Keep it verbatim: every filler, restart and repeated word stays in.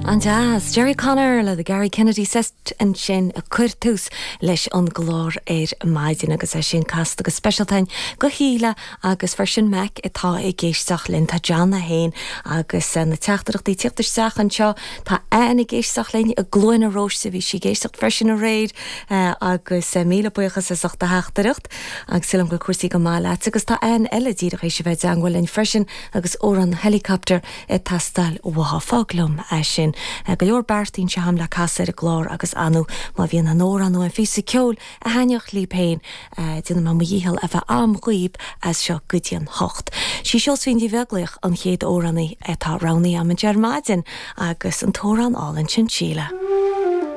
An-deas Jerry Connor le the Gary Kennedy Sextet ansin ag cur tús leis an gclár ar maidin agus é sin casta go speisialta do Shíle agus freisin Mac atá ag éisteacht linn tá John a haon agus eh, na teachtaireachtaí ag teacht isteach anseo tá Ann ag éisteacht linn i gCluain na Róiste bhí sí ag éisteacht freisin aréir eh, agus eh, míle buíochas as ucht do theachtaireacht agus sílim go cúrsaí go maith leat agus tá Ann eile díreach théis a bheith i dteagmháil linn freisin agus amhrán Helicopter ag teastáil uaithi fág liom é sin. Go leor beartaíonn sé ham le casadh ar an gclár agus anú má bhíonn an amhrán nó an píosa ceoil a thaitneodh libh féin déanfaidh mé mo dhícheall a bheith am dhaoibh as seo go dtí an hocht. Sí Seosaimhín Ní Bheaglaoich an chéad amhránaí atá roghnaithe agam ar maidin agus an t-amhrán álainn sin Síle.